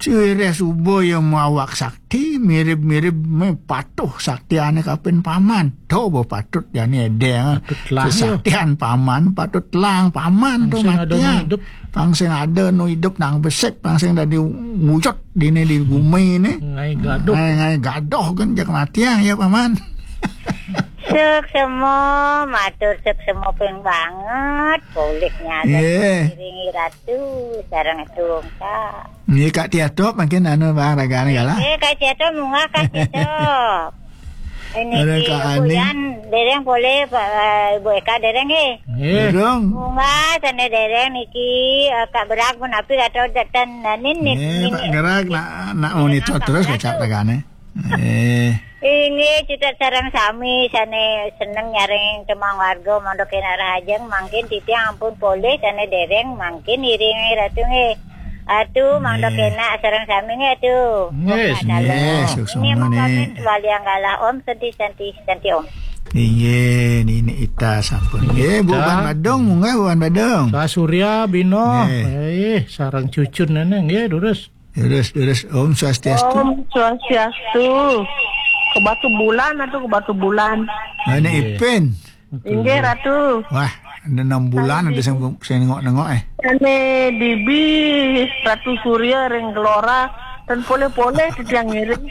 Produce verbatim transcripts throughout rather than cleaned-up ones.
Sireh suba ya mawak sakti, mirib-mirib me patuh saktiane kapin paman. To ba patut jani edeng. Patut lah, ya. Saktian paman patut lang paman to. Pang sing ada matiang. Nu idup. Pang sing ada nu idup nang besik, pang sing dadi wujud dini di gumi ni. Ngai gaduh. Ngai, ngai gaduh kan jak matiang ya paman. Suksma, matur suksma ping banget. Polih nyaga. Nggih. Ngiringi ratu sareng tungkak. Nggih, Kak Tiatop mungkin anu bang ragane galah. Eh, Kak Tiatop munggah, Kak Tiatop. Ini ada Kak Ani. Buyan dereng polih, Pak, eh, Ibu Eka dereng nggih. Nggih. Durung. Munggah sane dereng niki, eh, Kak Berak pun api atau datan nanin nih. Nggih, Pak Gerak nak, nak monitor terus kacak ragane. Eh. Inggih, cecek sareng sami sane seneng nyarengin tembang warga mangda kenak rahajeng, mangkin titiang ampun polih sane dereng, mangkin iringi ratu nggih. Atu mangda kenak sareng sami nggih atu. Nggih, suksma. Nggih, suksma. Ini mongkomen waliang galah Om Santi Santi Santi Om. Inggih, Nini Ita sampun. Nggih, Bu Ita. Wan Badung, munggah Bu Wan Badung. Sa Surya Bino. Nggih. Eh, sareng cucun nene nggih, durus. Terus, terus, Om Swastiastu. Om Swastiastu. Ke Batu Bulan atau ke Batu Bulan? Mana Ipin? Inggih, Ratu. Wah, ada enam bulan ada sing, sing nengok-nengok eh. Ane Bibi Ratu Surya ring Gelora, ten poleh-poleh titiang ngiring.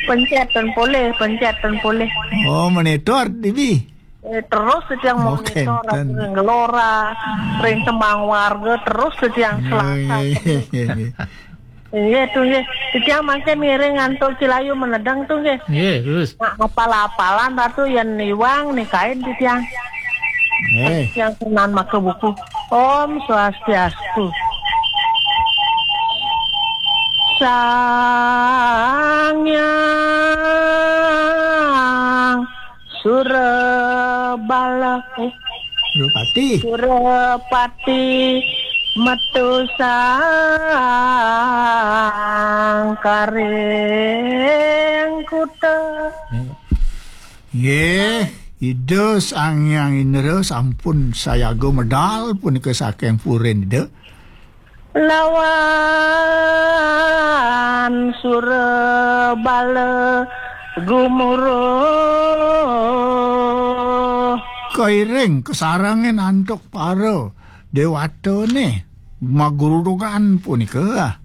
Pencet ten poleh, pencet ten poleh. Oh, monitor, Bibi. Eh, terus setiang monitor, ring Gelora, ring Tembang Warga, terus setiang Selasa. Iya, iya, iya. Iya, tuh, iya. Setiang makin ngiring ngantuk Cilayu menedang tuh, nggih. Iya, terus. Nah, apal-apalan Ratu yang niwang nih kain setiang. Eh. Yang senang maka buku. Om Swastiastu. Sang Yang Surabala, eh, Surapati. Surapati metu sangkaring kuta. Nggih, Ida Sang Hyang Indra sampun sayaga medal punika saking purin Ida. Lawan Surabala gumuruh. Kairing kasarengin antuk para dewatane magrudugan punika.